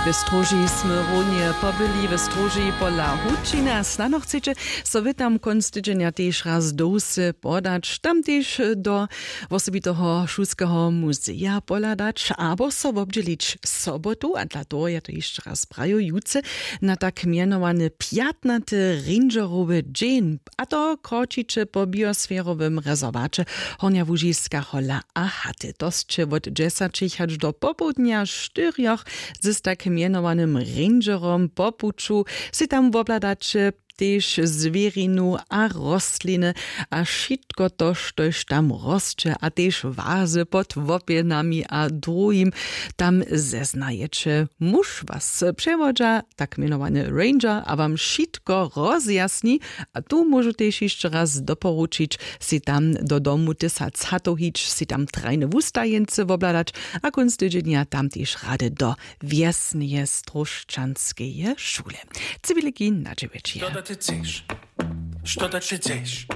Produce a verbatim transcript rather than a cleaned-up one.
W stróži smy runje pobyli, w stróži pola hučiny a snano chceće so wy tam kónc tydźenja tež raz do wsy podać, tam tež do wosebiteho šulskeho muzeja pohladać abo so wobdźělić sobotu, a dla toho ja to hišće raz prajujucy, na tak mjenowany pjatnaty rangerowy dźeń, a to kročiće po biosferowym rezerwaće hornja łužiska hola a haty to sće wot dźesaćich hač do popołdnja štyrjoch. Z tak mjenowanym rangerom po puću sej tam wobhladaće tež zwěrinu a rostliny a wšitko to štož tam rosće a tež wazy pod łopjenami a druhim. Tam zeznajeće, muž was přewodźa, tak mjenowany ranger, a wam wšitko rozjasni. A tu móžu tež hišće raz doporučić, sej tam do domu tysac hatow hić, sej tam trajne wustajeńcy wobhladać a kónc tydźenja tam tež rady do wjesneje stróšćanskeje šule. Ciwiliki na dźewjećije. Što da će chceš? Što da će chceš?